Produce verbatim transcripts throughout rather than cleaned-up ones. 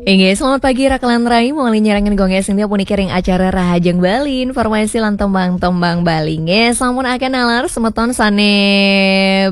Inggih, selamat pagi Rakelan Rai, mangkin nyarengin Gong Sintia puniki ring acara Rahajeng Bali, informasi lan tembang-tembang Bali. Inggih, sampun akeh nalar semeton sane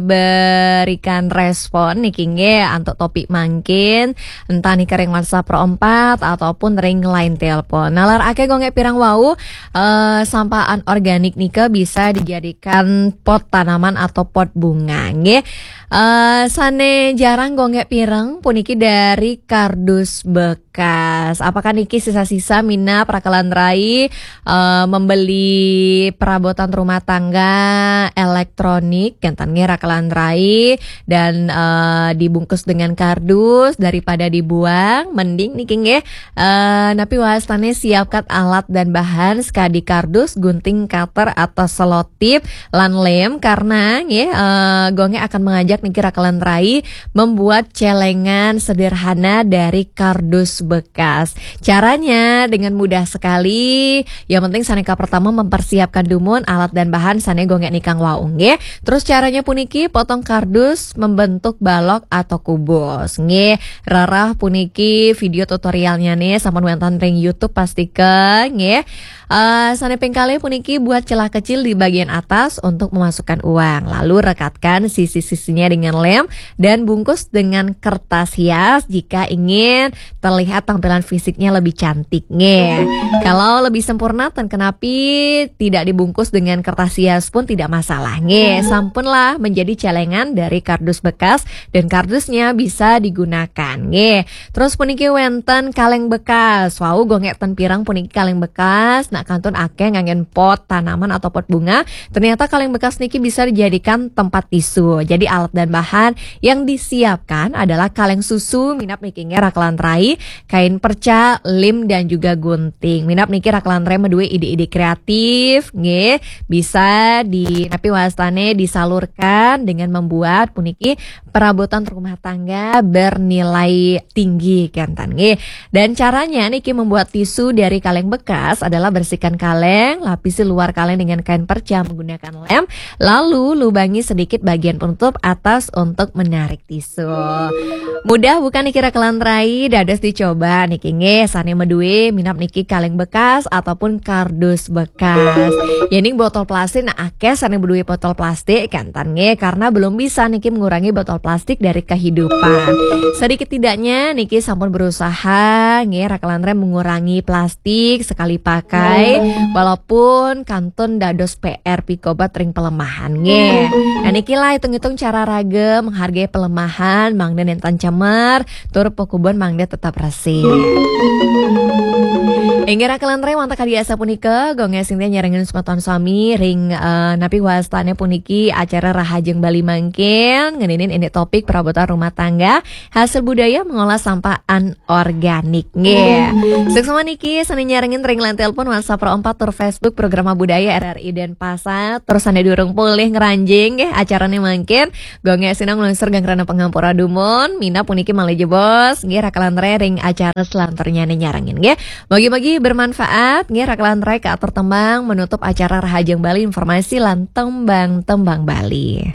berikan respon niki nggih antuk topik mangkin, entah niki ring WhatsApp Pro empat ataupun ring line telepon. Nalar akeh Gong pirang wau, eh, sampah anorganik nika bisa dijadikan pot tanaman atau pot bunga nggih. Eh, sane jarang Gong pirang puniki dari kardus bekas. Apakah niki sisa-sisa minab Rakelan Rai, eh, membeli perabotan rumah tangga elektronik, kenten nggih Rakelan Rai, dan, eh, dibungkus dengan kardus daripada dibuang, mending niki nggih, eh, napi wastane siapkan alat dan bahan, sekadi kardus, gunting, cutter, atau selotip, lan lem, karena nggih, eh, Gong akan mengajak niki Rakelan Rai membuat celengan sederhana dari kardus bekas. Caranya dengan mudah sekali. Yang penting sane kapertama mempersiapkan dumun alat dan bahan sane Gong nikang wau nggih. Terus caranya puniki, potong kardus membentuk balok atau kubus nggih. Rereh puniki video tutorialnya nih sampun wenten ring YouTube pastika nggih. Eh, sane ping kalih puniki, buat celah kecil di bagian atas untuk memasukkan uang. Lalu rekatkan sisi-sisinya dengan lem dan bungkus dengan kertas hias jika ingin terlihat tampilan fisiknya lebih cantik nggih. Kalau lebih sempurna, ten kenapi tidak dibungkus dengan kertas hias pun tidak masalah nggih. Sampunlah menjadi celengan dari kardus bekas dan kardusnya bisa digunakan nggih. Terus puniki wenten kaleng bekas. Wau Gong ten pirang puniki kaleng bekas, nak kantun akeh nganggen pot tanaman atau pot bunga. Ternyata kaleng bekas niki bisa dijadikan tempat tisu. Jadi alat dan bahan yang disiapkan adalah kaleng susu, minab niki nggih Rakelan Rai, kain perca, lem, dan juga gunting. Minab niki Rakelan Rai madue ide-ide kreatif nggih, bisa di napi wastane disalurkan dengan membuat puniki perabotan rumah tangga bernilai tinggi kenten nggih. Dan caranya niki membuat tisu dari kaleng bekas adalah bersihkan kaleng, lapisi luar kaleng dengan kain perca menggunakan lem, lalu lubangi sedikit bagian penutup atas untuk menarik tisu. Mudah bukan niki Rakelan Rai? Dados dicoba niki nggih, sane madue minab niki kaleng bekas ataupun kardus bekas. Yening botol plastik, nah akeh sane madue botol plastik kenten nggih, karena belum bisa niki mengurangi botol plastik dari kehidupan. Sedikit tidaknya niki sampun berusaha nggih Rakelan Rai mengurangi plastik sekali pakai, walaupun kantun dados P R pikobat ring pelemahan nggih. Nah niki lah hitung-hitung cara raga menghargai pelemahan, mangda nenten cemer, tur pakubon mangda tetap resik. Inggih Rakelan Rai, wantah kadi asapunika, Gong Sintia nyarengin semeton sami ring, eh, napi wastane puniki acara Rahajeng Bali mangkin, ngeninin ini topik perabotan rumah tangga, hasil budaya mengolah sampah anorganik nggih. Suksma niki sane nyarengin ring line telepon, WhatsApp Pro empat tur Facebook Programa Budaya R R I Denpasar. Terus sane durung polih ngranjing nggih acarane mangkin, Gong sinau nglungsur ganggrana pangampura dumun, minab puniki malih jebos nggih Rakelan Rai ring acara selanturnyane nyarengin nggih. Mugi-mugi bermanfaat nggih. Rakelan Rai kaatur tembang menutup acara Rahajeng Bali, informasi lan tembang-tembang Bali.